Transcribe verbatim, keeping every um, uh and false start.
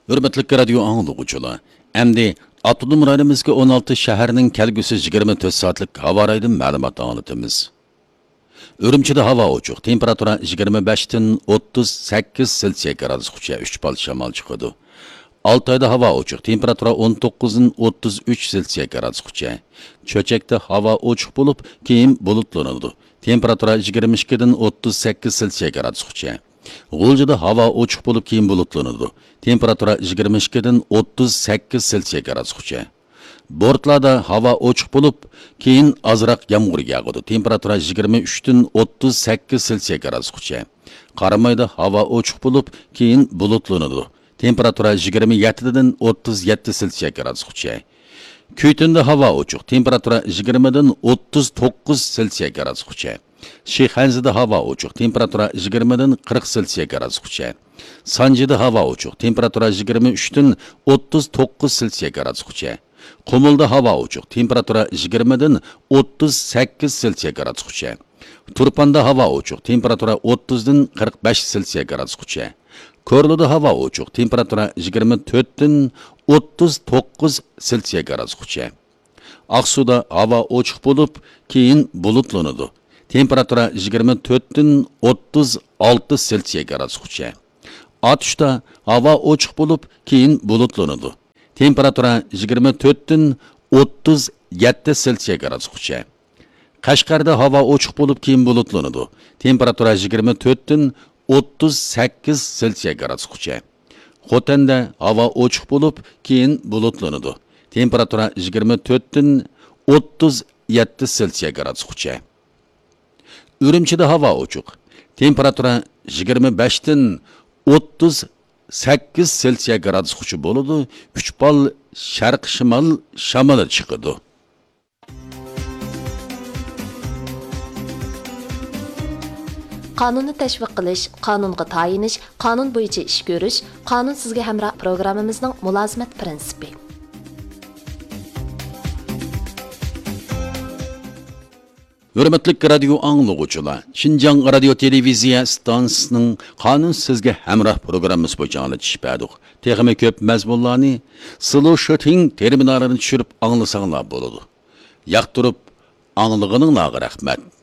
ھۆرمەتلىك رادىيو ئاڭلىغۇچىلار، ئەمدى ئاپتونوم رايونىمىزدىكى ئون ئالتە شەھەرنىڭ كەلگۈسى يىگىرمە تۆت سائەتلىك ھاۋا رايىدىن مەلۇمات ئاڭلىتىمىز. ئۈرۈمچىدە ھاۋا ئوچۇق، تېمپېراتۇرا يىگىرمە بەشتىن ئوتتۇز سەككىز سېلسىيە گرادۇسقىچە، ئۈچ بال شامال چىقىدۇ. ئالتايدا ھاۋا ئوچۇق، تېمپېراتۇرا ئون توققۇزدىن ئوتتۇز ئۈچ سېلسىيە گرادۇسقىچە. چۆچەكتە ھاۋا ئوچۇق بولۇپ، كېيىن بۇلۇتلىنىدۇ. تېمپېراتۇرا يىگىرمە ئىككىدىن ئوتتۇز سەككىز سېلسىيە گرادۇسقىچە. غۇلجىدا ھاۋا ئوچۇق بولۇپ، كېيىن بۇلۇتلىنىدۇ. تېمپېراتۇرا يىگىرمە ئىككىدىن ئوتتۇز سەككىز سېلسىيە گرادۇسقىچە. بورتلادا ھاۋا ئوچۇق بولۇپ، كېيىن ئازراق يامغۇر ياغىدۇ. تېمپېراتۇرا يىگىرمە ئۈچتىن ئوتتۇز سەككىز سېلسىيە گرادۇسقىچە. قارامايدا ھاۋا ئوچۇق بولۇپ، كېيىن بۇلۇتلىنىدۇ. تېمپېراتۇرا يىگىرمە يەتتىدىن ئوتتۇز يەتتە سېلسىيە گرادۇسقىچە. كۈيتۈندە ھاۋا ئوچۇق، تېمپېراتۇرا يىگىرمىدىن ئوتتۇز توققۇز سېلسىيە گرادۇسقىچە. شىخەنزىدە ھاۋا ئوچۇق، تېمپېراتۇرا يىگىرمىدىن قىرىق سېلسىيە گرادۇسقىچە. سانجىدا ھاۋا ئوچۇق، تېمپېراتۇرا يىگىرمە ئۈچتىن ئوتتۇز توققۇز سېلسىيە گرادۇسقىچە. قۇمۇلدا ھاۋا ئوچۇق، تېمپېراتۇرا يىگىرمىدىن ئوتتۇز سەككىز سېلسىيە گرادۇسقىچە. تۇرپاندا ھاۋا ئوچۇق، تېمپېراتۇرا ئوتتۇزدىن قىرىق بەش سېلسىيە گرادۇسقىچە. كورلىدا ھاۋا ئوچۇق، تېمپېراتۇرا يىگىرمە تۆتتىن ئوتتۇز توققۇز سېلسىيە گرادۇسقىچە. ئاقسۇدا ھاۋا ئوچۇق بولۇپ، كېيىن بۇلۇتلىنىدۇ. تېمپېراتۇرا يىگىرمە تۆتتىن ئوتتۇز ئالتە سېلسىيە گرادۇسقىچە. ئاتۇشتا ھاۋا ئوچۇق بولۇپ، كېيىن بۇلۇتلىنىدۇ. تېمپېراتۇرا يىگىرمە تۆتتىن ئوتتۇز يەتتە سېلسىيە گرادۇسقىچە. قەشقەردە ھاۋا ئوچۇق بولۇپ، كېيىن بۇلۇتلىنىدۇ. تېمپېراتۇرا يىگىرمە تۆتتىن ئوتتۇز سەككىز سېلسىيە گرادۇسقىچە. خوتەندە ھاۋا ئوچۇق بولۇپ، كېيىن بۇلۇتلىنىدۇ. تېمپېراتۇرا يىگىرمە تۆتتىن ئوتتۇز يەتتە سېلسىيە گرادۇسقىچە. ئۈرۈمچىدە ھاۋا ئوچۇق. تېمپېراتۇرا يىگىرمە بەشتىن ئوتتۇز سەككىز سېلسىيە گرادۇسقىچە بولىدۇ. ئۈچ بال شەرقىي شىمال شامىلى چىقىدۇ. قانۇننى تەشۋىق قىلىش، قانۇنغا تايىنىش، قانۇن بويىچە ئىش كۆرۈش، قانۇن سىزگە ھەمراھ پروگراممىمىزنىڭ مۇلازىمەت پىرىنسىپى. ھۆرمەتلىك رادىيو ئاڭلىغۇچىلار، شىنجاڭ رادىيو تېلېۋىزىيە ئىستانسىسىنىڭ قانۇن سىزگە ھەمراھ پروگراممىسى بويىچە ئاڭلىتىش بەردۇق. تېخىمۇ كۆپ مەزمۇنلارنى سلوشىتىڭ تېرمىنالىنى چۈشۈرۈپ ئاڭلىساڭلار بولىدۇ. ياقتۇرۇپ ئاڭلىغىنىڭلارغا رەھمەت.